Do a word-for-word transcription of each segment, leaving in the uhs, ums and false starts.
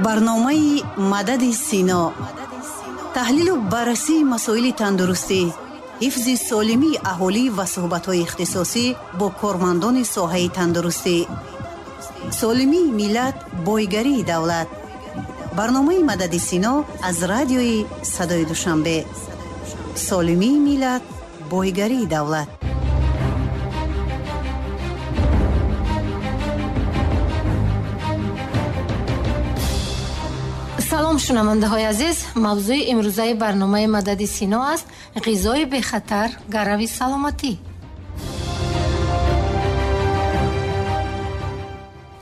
Барномаи Мадади Сино, таҳлилу баррасии масоили тандурустӣ, ҳифзи солимии аҳолӣ ва суҳбатҳои ихтисосӣ бо кормандони соҳаи тандурустӣ. Солимии миллат, бойгарии давлат. Барномаи Мадади Сино аз радиои Садои Душанбе. Солимии миллат, бойгарии давлат. Салом, шунавандаҳои азиз. Мавзӯи имрӯзаи барномаи Мадади Сино аст: ғизои бехатар, гарави саломатӣ.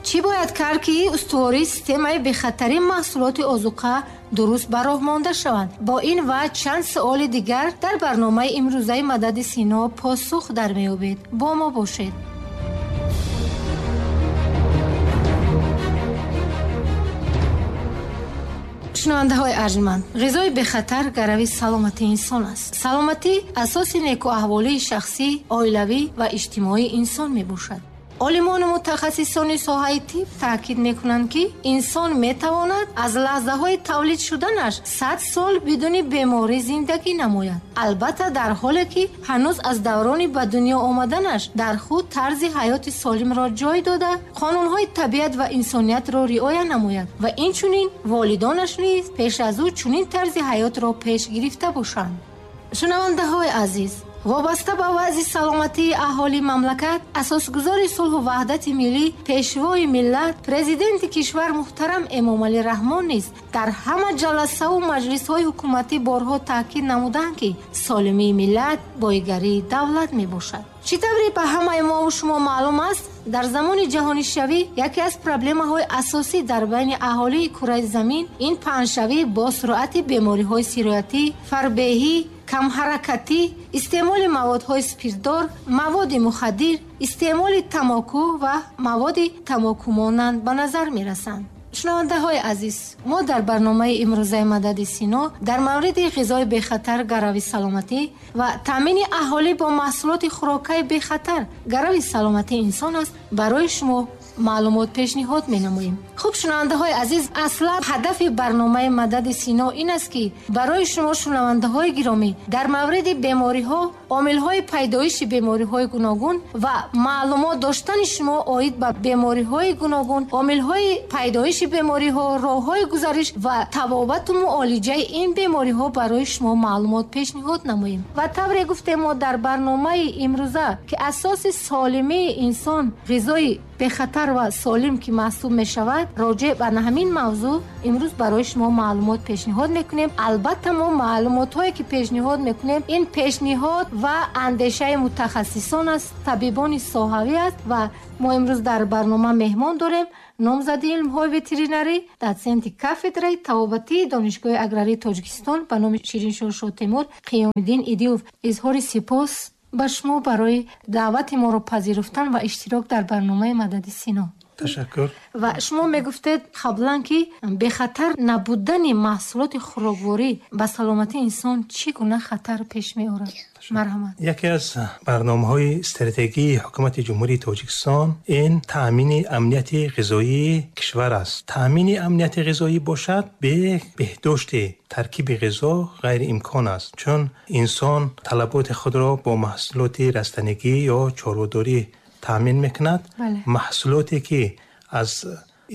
Чӣ бояд кард, ки устувории системаи бехатарии маҳсулоти озуқа дуруст ба роҳ монда шаванд? Бо ин ва чанд суоли дигар дар барномаи имрӯзаи Мадади Сино посух дар меёбед. Бо мо бошед. Шунавандаҳои арҷманд, ғизои бехатар гарави саломатии инсон аст. Саломатӣ асоси некӯаҳволии шахсӣ, оилавӣ ва иҷтимоии инсон мебошад. Олимону мутахассисони соҳаи тиб таъкид мекунанд, ки инсон метавонад аз лаҳзаҳои тавлид шуданаш сад сол бидуни беморӣ зиндагӣ намояд. Албатта, дар ҳоле ки ҳанӯз аз даврони ба дунё омаданаш дар худ тарзи ҳаёти солимро ҷой дода, қонунҳои табиат ва инсониятро риоя намояд ва инчунин волидонаш низ пеш аз ӯ чунин тарзи ҳаётро пеш гирифта бошанд. Шунавандаҳои азиз, вобаста ба вазъи саломатии аҳолии мамлакат, асосгузори сулҳу ваҳдати миллӣ, пешвои миллат, президенти кишвар муҳтарам Эмомалӣ Раҳмон низ дар ҳама ҷаласаву маҷлисҳои ҳукуматӣ борҳо таъкид намуданд, ки солимии миллат бойгарии давлат мебошад. Чӣ тавре ба ҳамаи мову шумо маълум аст, дар замони ҷаҳонишавӣ яке аз проблемаҳои асосӣ дар байни аҳолии кураи замин ин паҳншавӣ бо суръати бемориҳои сироятӣ, фарбеҳӣ, камҳаракатӣ, истеъмоли маводҳои спиртдор, маводи мухаддир, истеъмоли тамоку ва маводи тамокумонанд ба назар мерасанд. Шунавандаҳои азиз, мо дар барномаи имрӯзаи Мадади Сино дар мавриди ғизои бехатар, гарави саломатӣ ва таъмини аҳолӣ бо маҳсулоти хӯрокаи бехатар, гарави саломатии инсон аст, барои шумо маълумот пешниҳод менамоем. Хуб, шунавандаҳои азиз, аслан ҳадафи барномаи Мадади Сино ин аст, ки барои шумо шунавандаҳои гиромӣ дар мавриди бемориҳо, омилҳои пайдоиши бемориҳои гуногун ва маълумот доштани шумо оид ба бемориҳои гуногун, омилҳои пайдоиши бемориҳо, роҳҳои гузариш ва табобату муолиҷаи ин бемориҳо барои шумо маълумот пешниҳод намоем. Ва тавре гуфтем, мо дар барномаи имрӯза, ки асоси солимии инсон ғизои бехатар ва солим ки маҳсуб мешавад, роҷеъ ба ҳамин мавзӯъ имрӯз барои шумо маълумот пешниҳод мекунем. Албатта, мо маълумотҳое ки пешниҳод мекунем, ин пешниҳод ва андешаи мутахассисон аст, табибони соҳавӣ аст ва мо имрӯз дар барнома меҳмон дорем номзади илмҳои ветеринарӣ, дотсенти кафедраи табобатии Донишгоҳи аграрии Тоҷикистон ба номи Шириншоҳ Шотемур Қиёмиддин Идилов. Изҳори сипос ба шумо барои даъвати моро пазируфтан ва иштирок дар барномаи Мадади Сино. Ташаккур. Ва шумо мегуфтед қаблан, ки бехатар набудани маҳсулоти хӯрокворӣ ба саломатии инсон чӣ гуна хатар пеш меорад? Марҳамат. Яке аз барномаҳои стратегии ҳукумати Ҷумҳурии Тоҷикистон ин таъмини амнияти ғизоии кишвар аст. Таъмини амнияти ғизоӣ бошад, бе беҳдошти таркиби ғизо ғайриимкон аст, чун инсон талаботи худро бо маҳсулоти растанигӣ ё чорводорӣ таъмин мекунад. Маҳсулоте ки аз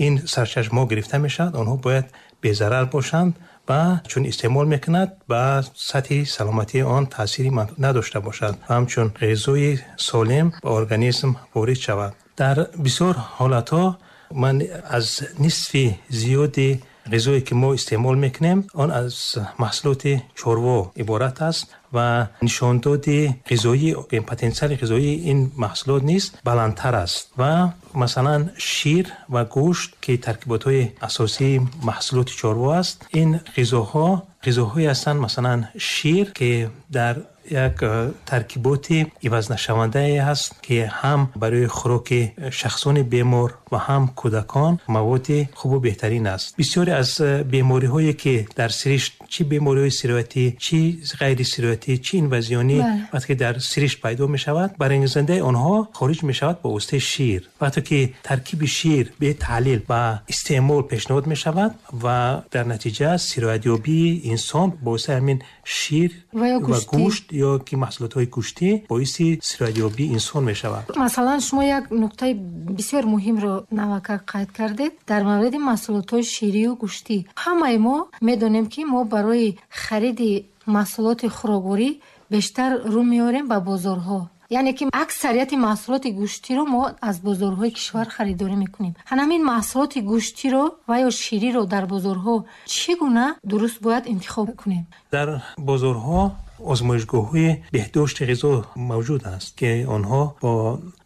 ин сарчашмаҳо гирифта мешавад, онҳо бояд безарар бошанд ва чун истеъмол мекунад ба сатҳи саломатии он таъсири надошта бошад ва ҳамчун ғизои солим ба организм ворид шавад. Дар бисёр ҳолатҳо ман аз нисфи зиёди ғизое ки мо истеъмол мекунем, он аз маҳсулоти чорво иборат аст ва нишондоди ғизоӣ, потенсиали ғизоии ин маҳсулот низ баландтар аст ва масалан шир ва гӯшт, ки таркиботҳои асосии маҳсулоти чорво аст, ин ғизоҳо ғизоҳое ҳастанд, масалан шир, ки дар як таркиботи ивазнашавандае ҳаст, ки ҳам барои хӯроки шахсони бемор ва ҳам кӯдакон маводи хубу беҳтарин аст. Бисёре аз бемориҳое ки дар сиришт, чӣ бемориҳои сироятӣ, чӣ ғайрисироятӣ, чӣ инвазионӣ, вақте ки дар сиришт пайдо мешавад, барангезандаи онҳо хориҷ мешавад бо воситаи шир. Вақте ки таркиби шир бетаҳлил ба истеъмол пешниҳод мешавад ва дар натиҷа сироятёбии инсон бо воситаи ҳамин шир ва гӯшт ё ки маҳсулотҳои гӯштӣ боиси сироятёбии инсон мешавад. Масалан, шумо як нуқтаи бисёр муҳимро навака қайд кардед дар мавриди маҳсулотҳои ширию гӯштӣ. Ҳамаи мо медонем, ки мо барои хариди маҳсулоти хӯрокворӣ бештар рӯ меорем ба бозорҳо. Яъне ки аксарияти маҳсулоти гӯштиро мо аз бозорҳои кишвар харидорӣ мекунем. Ҳамин маҳсулоти гӯштиро ва ё шириро дар бозорҳо чӣ гуна дуруст бояд интихоб кунем? Дар бозорҳо озмоишгоҳҳои беҳдошти ғизо мавҷуд аст, ки онҳо бо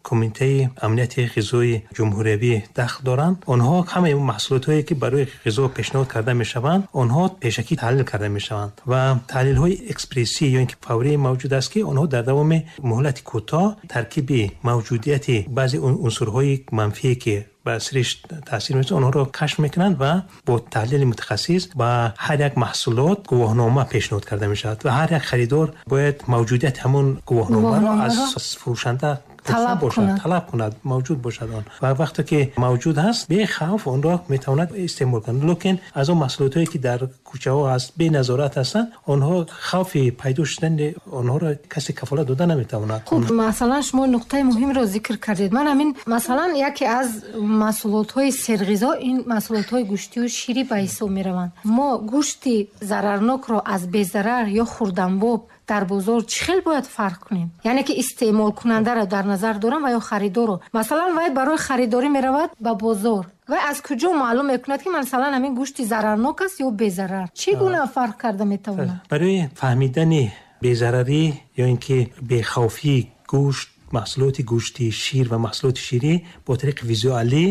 кумитаи амнияти ғизои ҷумҳуриявӣ дахл доранд. Онҳо ҳамаи маҳсулотҳое ки барои ғизо пешниҳод карда мешаванд, онҳо пешакӣ таҳлил карда мешаванд ва таҳлилҳои экспрессӣ ё ин ки фаврӣ мавҷуд аст, ки онҳо дар давоми муҳлати кӯтоҳ таркиби мавҷудияти баъзе унсурҳои манфие ки ба сиришт таъсир мерасонанд, онҳоро кашф мекунанд ва бо таҳлили мутахассис ба ҳар як маҳсулот гувоҳнома пешниҳод карда мешавад ва ҳар як харидор бояд мавҷудияти ҳамон гувоҳномаро аз фурӯшанда талаб бошад, талаб кунад, мавҷуд бошад он. Ва вақте ки мавҷуд ҳаст, бехавф онро метавонад истеъмол кунад. Лекин аз он маҳсулотҳое ки дар кӯчаҳо ҳаст, беназорат ҳастанд, онҳо хавфи пайдо шудани онҳоро касе кафолат дода наметавонад. Хуб, масалан шумо нуқтаи муҳимро зикр кардед. Ман ҳамин масалан яке аз маҳсулотҳои серғизо ин маҳсулотҳои гӯштию ширӣ ба ҳисоб мераванд. Мо гӯшти зарарнокро аз безарар ё хурданбоб дар бозор чӣ хел бояд фарқ кунем? Яъне ки истеъмолкунандаро дар назар дорам ва ё харидорро. Масалан, вай барои харидорӣ меравад ба бозор. Вай аз куҷо маълум мекунад, ки масалан ҳамин гӯшти зарарнок аст ё безарар? Чӣ гуна фарқ карда метавонад? Барои фаҳмидани безарарӣ ё ин ки бехавфии гӯшт, маҳсулоти гӯштӣ, шир ва маҳсулоти ширӣ бо тариқи визуалӣ,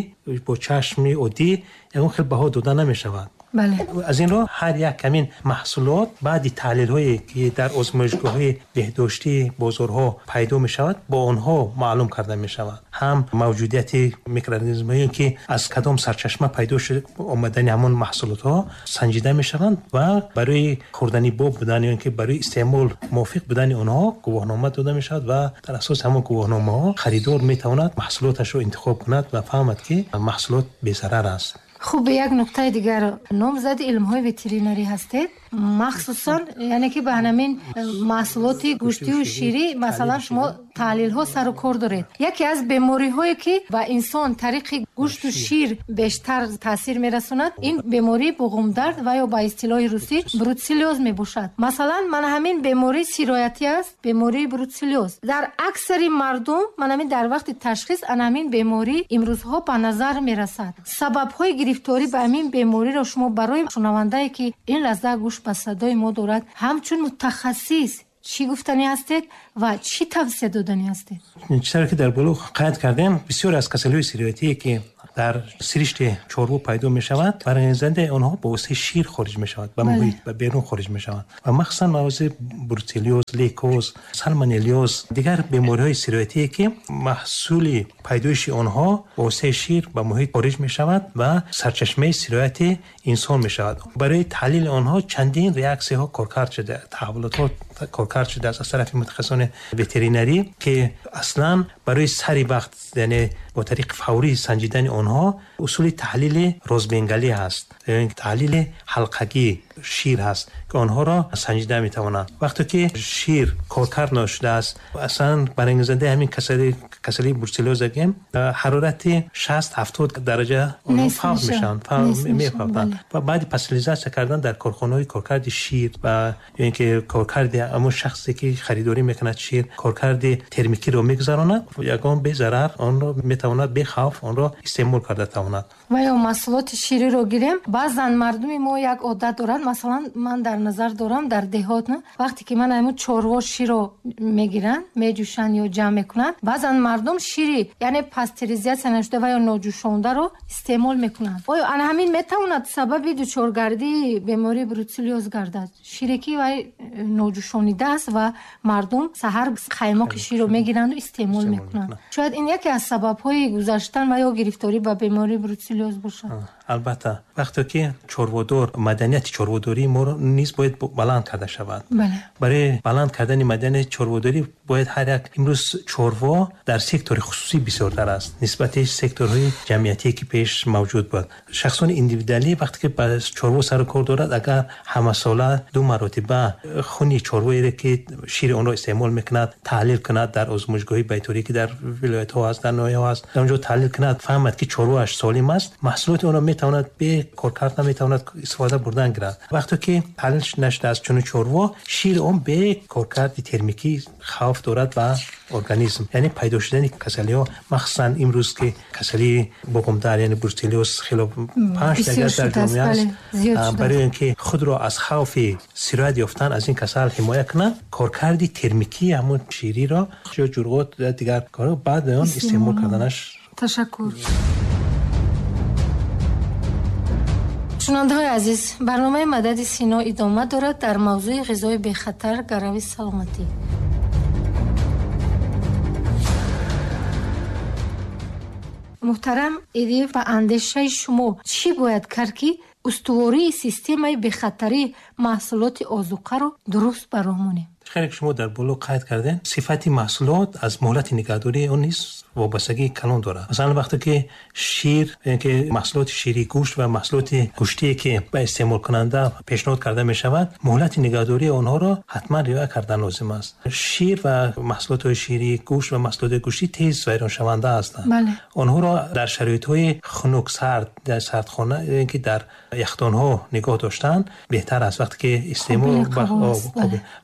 бо чашми оддӣ ягон хел баҳо дода намешавад. Бале. Аз ин рӯ ҳар як ҳамин маҳсулот баъди таҳлилҳое ки дар озмоишгоҳҳои беҳдоштии бозорҳо пайдо мешавад, бо онҳо маълум карда мешавад. Ҳам мавҷудияти микроорганизмҳое ки аз кадом сарчашма пайдо шуд омадани ҳамон маҳсулотҳо санҷида мешаванд ва барои хӯрдани боб будан ё ин ки барои истеъмол мувофиқ будани онҳо гувоҳнома дода мешавад ва дар асоси ҳамон гувоҳномаҳо харидор метавонад маҳсулоташро интихоб кунад ва фаҳмад, ки маҳсулот безарар аст. Хуб, як нуқтаи дигар, номзади илмҳои ветеринарӣ ҳастед, махсусан яъне ки ба ҳамин маҳсулоти гӯштию ширӣ масалан шумо таҳлилҳо сару кор доред. Яке аз бемориҳое ки ба инсон тариқи гӯшту шир бештар таъсир мерасонад, ин бемории буғумдард ва ё ба истилоҳи русӣ бруцеллёз мебошад. Масалан, ман ҳамин беморӣ сироятӣ аст, бемории бруцеллёз. Дар аксари мардум ман ҳамин дар вақти ташхис ан ҳамин беморӣ имрӯзҳо ба назар мерасад. Сабабҳои гирифторӣ ба ҳамин бемориро шумо барои шунавандае ки ин лаҳза гӯш ба садои мо дорад, ҳамчун мутахассис чӣ гуфтанӣ ҳастед ва чӣ тавсия доданӣ ҳастед? Чизеро ки дар боло қайд кардем, бисёр аз касалиҳои сироятие ки дар сиришти чорво пайдо мешавад, барангезандаи онҳо бо воситаи шир хориҷ мешавад, ба муҳит, ба берун хориҷ мешавад ва махсусан мавзӯи бруцеллёз, лейкоз, салмонеллёз, дигар бемориҳои сироятие ки маҳсули пайдоиши онҳо бо воситаи шир ба муҳит хориҷ мешавад ва сарчашмаи сирояти инсон мешавад. Барои таҳлили онҳо чандин реаксияҳо коркард шуда, таҳаввулотҳо коркард шудааст аз тарафи мутахассисони ветеринарӣ, ки аслан барои сари вақт, яъне бо тариқи фаврӣ санҷидани онҳо усули таҳлили розбенгалӣ ҳаст, яъне таҳлили ҳалқагии шир ҳаст, ки онҳоро санҷида метавонанд. Вақте ки шир коркард нашудааст, аслан барангезандаи ҳамин касалӣ, касалии бруцеллёз гем, ҳарорати шаст ҳафтод дараҷа онҳо фавт мешаванд, мефавтанд ва баъди пастеризатсия кардан дар корхонаҳои коркарди шир ва ё ин ки коркарди ҳамон шахсе ки харидорӣ мекунад шир, коркарди термикиро мегузаронад, ягон безарар онро метавонад метавонад бехавф онро истеъмол карда тавонад. Ва ё маҳсулоти шириро гирем, баъзан мардуми мо як одат доранд, масалан ман дар назар дорам дар деҳот, вақте ки ман ҳамун чорво широ мегиранд, меҷӯшанд ё ҷамъ мекунанд, баъзан мардум шири яъне пастеризатсия нашуда ва ё ноҷӯшондаро истеъмол мекунанд. Оё ана ҳамин метавонад сабаби дучоргардии бемории бруцеллёз гардад? Шире ки вай ноҷӯшонида аст ва мардум саҳар қаймоқи ширро мегиранду истеъмол мекунанд. Шояд ин яке аз сабабҳои гузаштан ва ё гирифторӣ ба бемории бруцеллёз бошад. Албатта, вақте ки чорводор, маданияти чорводории мо низ бояд баланд карда шавад. Барои баланд кардани маданияти чорводорӣ бояд ҳар як имрӯз чорво дар сектори хусусӣ бисёртар аст нисбати секторҳои ҷамъиятие ки пеш мавҷуд буд. Шахсони индивидуалӣ вақте ки ба чорво сару кор дорад, агар ҳамасола ду маротиба хуни чорвоеро ки шири онро истеъмол мекунад таҳлил кунад дар озмоишгоҳи байторӣ ки дар вилоятҳо аст, дар ноҳияҳо аст, дар онҷо таҳлил кунад, фаҳмад ки чорвоаш солим аст, маҳсулоти онро метавонад бе коркард наметавонад истифода бурдан гирад. Вақте ки таҳлил нашудааст чунин чорво, шири он бе коркарди термикӣ хавф дорад ба организм, яъне пайдо шудани касалиҳо, махсусан имрӯз ки касалии буғумдар яъне бруцеллёз хело панҷ дигар дар ҷомеа аст. Барои ин ки худро аз хавфи сироят ёфтан аз ин касал ҳимоя кунад, коркарди термикии ҳамон шириро ё ҷурғот ё дигар корҳо баъд он истеъмол карданаш. Ташаккур. Шунавандаҳои азиз, барномаи Мадади Сино идома дорад дар мавзӯи ғизои бехатар гарави саломатӣ. Муҳтарам Идиев, ба андешаи шумо чӣ бояд кард, ки устувории системаи бехатарии маҳсулоти озуқаро дуруст ба роҳ монем? Хеле ки шумо дар боло қайд кардем, сифати маҳсулот аз муҳлати нигаҳдории он низ вобастагии калон дорад. Масалан, вақте ки шир, яъне ки маҳсулоти ширӣ, гӯшт ва маҳсулоти гӯштие ки ба истеъмолкунанда пешниҳод карда мешавад, муҳлати нигаҳдории онҳоро ҳатман риоя кардан лозим аст. Шир ва маҳсулотҳои ширӣ, гӯшт ва маҳсулоти гӯштӣ тез вайроншаванда ҳастанд. Онҳоро дар шароитҳои хунук, сард, дар сардхона ё ки дар яхдонҳо нигоҳ доштан беҳтар аст. Вақте ки истеъмол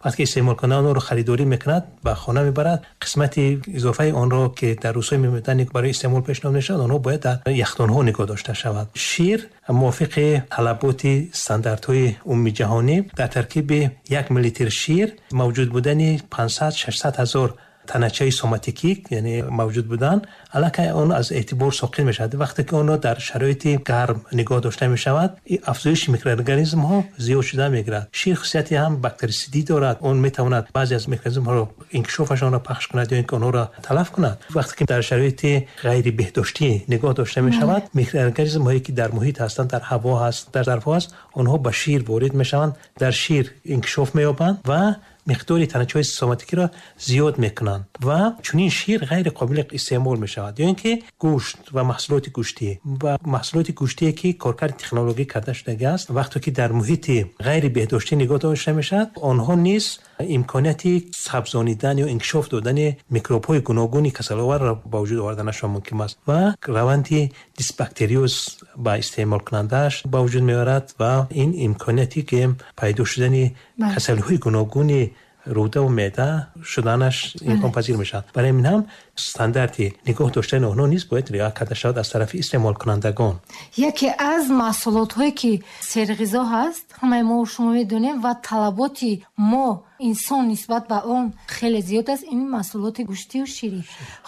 вақте ки истеъмолкунанда онро харидорӣ мекунад, ба хона мебарад, қисмати изофаи онро ки дар рӯзҳои мемондани барои истеъмол пешниҳод мешавад, онҳо бояд дар яхдонҳо нигоҳ дошта шавад. Шир мувофиқи талаботи стандартҳои умумиҷаҳонӣ дар таркиби як миллилитр шир мавҷуд будани панҷсад шашсад ҳазор таначаи соматикӣ, яъне мавҷуд будан, аллакай он аз эътибор соқит мешавад. Вақте ки онро дар шароити гарм нигоҳ дошта мешавад, афзоиши микроорганизмҳо зиёд шуда мегирад. Шир хусусияти ҳам бактерисидӣ дорад, он метавонад баъзе аз микроорганизмҳоро инкишофашонро пахш кунад ё ин ки онҳоро талаф кунад. Вақте ки дар шароити ғайрибеҳдоштӣ нигоҳ дошта мешавад, микроорганизмҳое ки дар муҳит ҳастанд, дар ҳаво ҳаст, дар зарфҳо ҳаст, онҳо ба шир ворид мешаванд, дар шир инкишоф меёбанд ва миқдори таначаҳои соматикиро зиёд мекунанд ва чунин шир ғайри қобили истеъмол мешавад. Ё ин ки гӯшт ва маҳсулоти гӯштӣ ва маҳсулоти гӯштие ки коркарди технологӣ карда шудагӣ аст, вақте ки дар муҳити ғайри беҳдоштӣ нигоҳ дошта мешавад, онҳо низ имконияти сабзонидан ё инкишоф додани микробҳои гуногуни касаловарро ба вуҷуд оварданашон мумкин аст ва раванди дисбактериоз ба истеъмолкунандааш ба вуҷуд меорад ва ин имконияте ки пайдо шудани касалиҳои гуногуни рӯда ва меъда шуданаш имконпазир мешавад. Барои ин ҳам стандарти нигоҳ доштани онҳо низ бояд риоя карда шавад аз тарафи истеъмолкунандагон. Яке аз маҳсулотҳое ки серғизо ҳаст, ҳамаи мо шумо медонем ва талаботи мо инсон нисбат ба он хеле зиёд аст, ин маҳсулоти гӯштию ширӣ.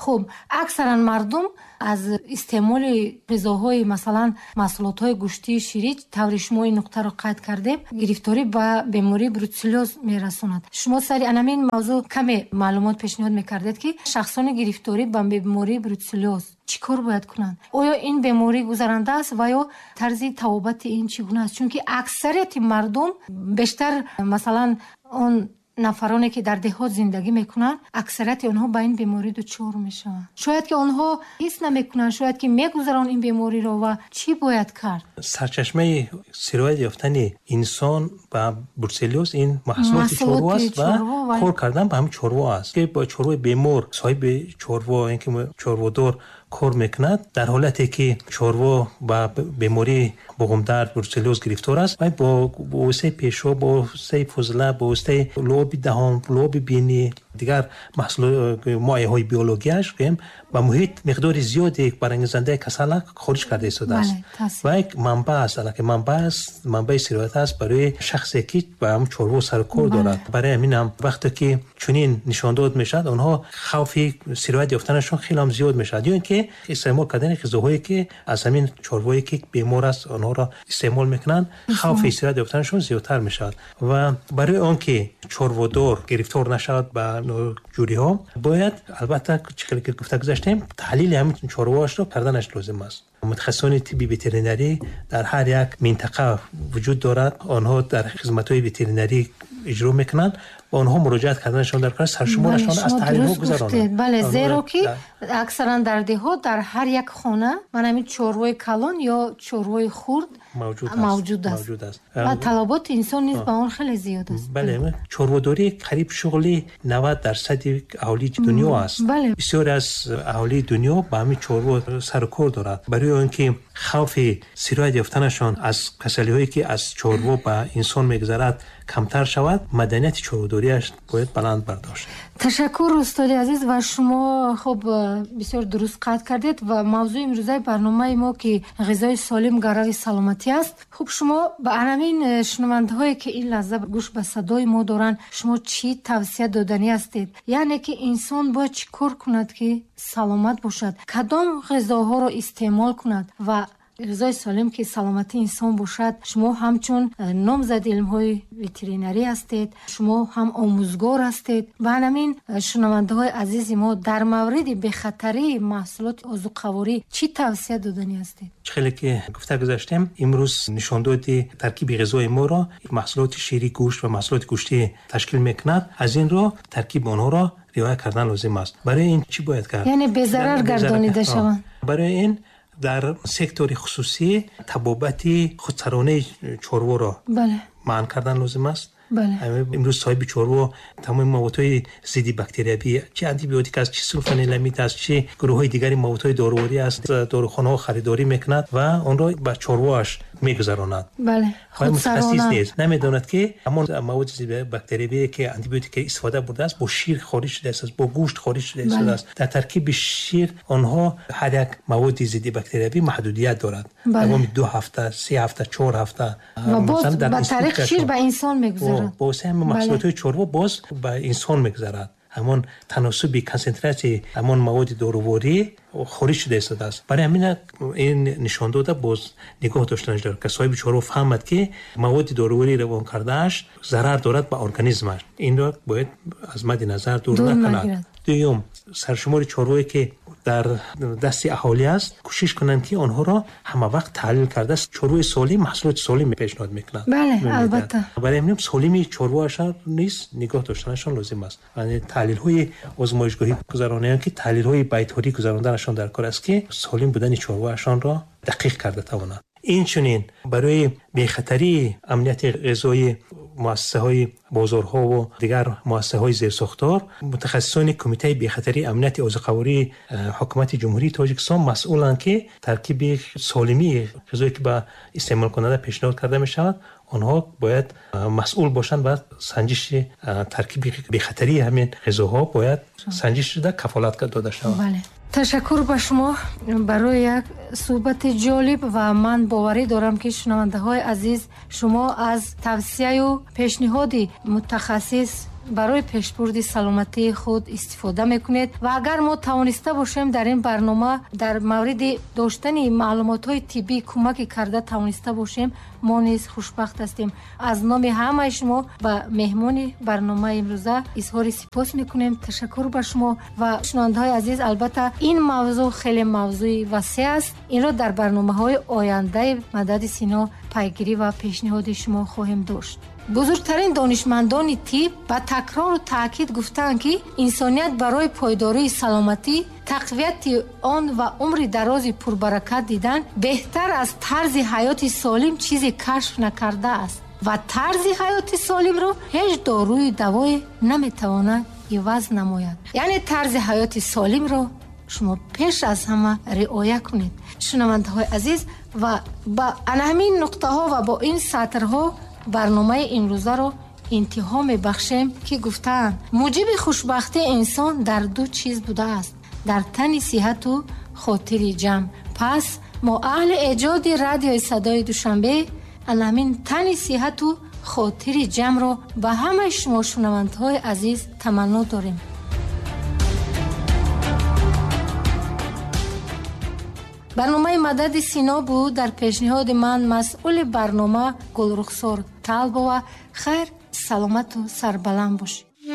Хуб, аксаран мардум аз истеъмоли ғизоҳои, масалан маҳсулотҳои гӯштию ширӣ, таври шумо ин нуқтаро қайд кардем, гирифторӣ ба бемории бруцеллёз мерасонад. Шумо сари анамин мавзӯъ каме маълумот пешниҳод мекардед, ки шахсони гирифторӣ ба бемории бруцеллёз чӣ кор бояд кунанд? Оё ин беморӣ гузаранда аст ва ё тарзи табобати ин чӣ гуна аст? Чунки аксарияти мардум бештар, масалан, он нафароне ки дар деҳот зиндагӣ мекунанд, аксарияти онҳо ба ин беморӣ дучор мешаванд. Шояд ки онҳо ҳис намекунанд, шояд ки мегузаранд ин бемориро ва чӣ бояд кард? Сарчашмаи сироят ёфтани инсон ба бруцеллёз ин маҳсулоти чорво аст ва кор кардан ба ҳамин чорво аст, ки бо чорвои бемор, соҳиби чорво, ин ки чорводор кор мекунад, дар ҳолате ки чорво ба бемории буғумдард, бруцеллёз гирифтор аст, вай бо воситаи пешоб, бо воситаи фузла, бо воситаи луоби даҳон, луоби бинӣ, Дигар моеъҳои биологияш гӯем ба муҳит миқдори зиёди барангезандаи касала хориҷ карда истодааст ва як манбаъ аст, аллакай манбаъ аст, манбаи сироят аст барои шахсе ки ба ҳамон чорво сарукор дорад. Барои ҳамин ҳам вақте ки чунин нишондод мешавад, онҳо хавфи сироят ёфтанашон хеле ҳам зиёд мешавад. Ё ин ки истеъмол кардани ғизоҳое ки аз ҳамин чорвое ки бемор аст онҳоро истеъмол мекунанд, хавфи сироят ёфтанашон зиёдтар мешавад. Ва барои он ки чорводор гирифтор нашавад ба ноҷӯриҳо, бояд албатта чӣ хеле ки гуфта гузаштем, таҳлили ҳамин чорвоашро карданаш лозим аст. Мутахассисони тибби ветеринарӣ дар ҳар як минтақа вуҷуд дорад, онҳо дар хизматҳои ветеринарӣ иҷро мекунанд ва онҳо муроҷиат карданашон дар кор саршуморашон аз таҳлилҳо гузаронанд. Бале, зеро ки аксаран дар деҳот дар ҳар як хона ман ҳамин чорвои калон ё чорвои хурд мавҷуд аст ва талаботи инсон низ ба он хеле зиёд аст. Бале, чорводорӣ қариб шуғли навад дарсади аҳолии дунё аст. Бисёре аз аҳолии дунё ба ҳамин чорво сарукор дорад. Барои он ки хавфи сироят ёфтанашон аз касалиҳое ки аз чорво ба инсон мегузарад камтар шавад, маданияти чорводориаш бояд баланд бардошт. Ташаккур устоди азиз, ва шумо хуб бисёр дуруст қайд кардед ва мавзӯи имрӯзаи барномаи мо ки ғизои солим гарави саломатӣ аст. Хуб, шумо ба ҳамин шунавандаҳое ки ин лаҳза гӯш ба садои мо доранд, шумо чӣ тавсия доданӣ ҳастед? Яъне ки инсон бояд чӣ кор кунад ки саломат бошад, кадом ғизоҳоро истеъмол кунад ва ғизои солим ки саломатии инсон бошад? Шумо ҳамчун номзади илмҳои ветеринарӣ ҳастед, шумо ҳам омӯзгор ҳастед ва ҳамин шунавандаҳои азизи мо дар мавриди бехатарии маҳсулоти озуқаворӣ чӣ тавсия доданӣ ҳастед? Чӣ хеле ки гуфта гузаштем, имрӯз нишондоди таркиби ғизои моро маҳсулоти ширӣ, гӯшт ва маҳсулоти гӯштӣ ташкил мекунад. Аз ин рӯ таркиби онҳоро риоя кардан лозим аст. Барои ин чӣ бояд кард? Яъне безарар гардонида шаванд. Барои ин дар сектори хусусӣ табобати худсаронаи чорворо манъ кардан лозим аст. Имрӯз соҳиби чорво тамоми маводҳои зидди бактериявӣ, чи антибиотик аст, чи сулфаниламид аст, чи гурӯҳҳои дигари маводҳои доруворӣ аст, дорухонаҳо харидорӣ мекунад ва онро ба чорвоаш мегузаронад. Мутахассис нест, намедонад ки ҳамон маводи зидди бактериявие ки антибиотик истифода бурдааст бо шир хориҷ шудааст, бо гӯшт хориҷ шудааст. Дар таркиби шир онҳо ҳар як маводи зидди бактериявӣ маҳдудият дорад. Давоми ду ҳафта, се ҳафта, чор ҳафта ва боз ба тариқи шир ба инсон мегузарад. Бо ҳамин маҳсулотҳои чорво боз ба инсон мегузарад. Ҳамон таносуби консентратсияи ҳамон маводи доруворӣ хориҷ шуда истодааст. Барои ҳамин ин нишондода боз нигоҳ доштанаш дорад ки соҳиби чорво фаҳмад ки маводи доруворӣ равон кардааш зарар дорад ба организмаш. Инро бояд аз мадди назар дур накунад. Дуюм, саршумори чорвое ки дар дасти аҳолӣ аст, кӯшиш кунанд ки онҳоро ҳама вақт таҳлил карда чорвои солим, маҳсулоти солим пешниҳод мекунанд. Бале, албатта. Барои ҳамин солими чорвоашон низ нигоҳ доштанашон лозим аст. Яъне таҳлилҳои озмоишгоҳӣ гузаронанд ки таҳлилҳои байторӣ гузаронданашон дар кор аст ки солим будани чорвоашонро дақиқ карда тавонанд. Инчунин барои бехатарии амнияти ғизоии муассисаҳои бозорҳо ва дигар муассисаҳои зерсохтор, мутахассисони Кумитаи бехатарии амнияти озуқавории ҳукумати Ҷумҳурии Тоҷикистон масъуланд ки таркиби солимии ғизое ки ба истеъмолкунанда пешниҳод карда мешавад, онҳо бояд масъул бошанд ва санҷиши таркиби бехатарии ҳамин ғизоҳо бояд санҷиш шуда кафолат дода шавад. Бале. Ташаккур ба шумо барои як суҳбати ҷолиб ва ман боварӣ дорам ки шунавандаҳои азиз шумо аз тавсияю пешниҳоди мутахассис барои пешбурди саломатии худ истифода мекунед ва агар мо тавониста бошем дар ин барнома дар мавриди доштани маълумотҳои тиббӣ кӯмаке карда тавониста бошем, мо низ хушбахт ҳастем. Аз номи ҳамаи шумо ба меҳмони барномаи имрӯза изҳори сипос мекунем. Ташаккур ба шумо ва шунавандаҳои азиз, албатта ин мавзӯъ хеле мавзӯи васеъ аст. Инро дар барномаҳои ояндаи Мадади Сино пайгирӣ ва пешниҳоди шумо хоҳем дошт. Бузургтарин донишмандони тиб ба такрору таъкид гуфтаанд ки инсоният барои пойдории саломатӣ, тақвияти он ва умри дарози пурбаракат дидан беҳтар аз тарзи ҳаёти солим чизе кашф накардааст ва тарзи ҳаёти солимро ҳеҷ доруи давое наметавонад иваз намояд. Яъне тарзи ҳаёти солимро шумо пеш аз ҳама риоя кунед. Шунавандаҳои азиз, ва ба ана ҳамин нуқтаҳо ва бо ин сатрҳо барномаи имрӯзаро интиҳо мебахшем, ки гуфтаанд муҷиби хушбахтии инсон дар ду чиз будааст: дар тани сиҳату хотири ҷамъ. Пас мо аҳли эҷоди радиои садои Душанбе ана ҳамин тани сиҳату хотири ҷамъро ба ҳамаи шумо шунавандаҳои азиз таманно дорем. Барномаи Мадади Сино буд. Дар пешниҳоди ман масъули барнома Гулрухсор Талбова. Хайр, саломату сарбаланд бошед.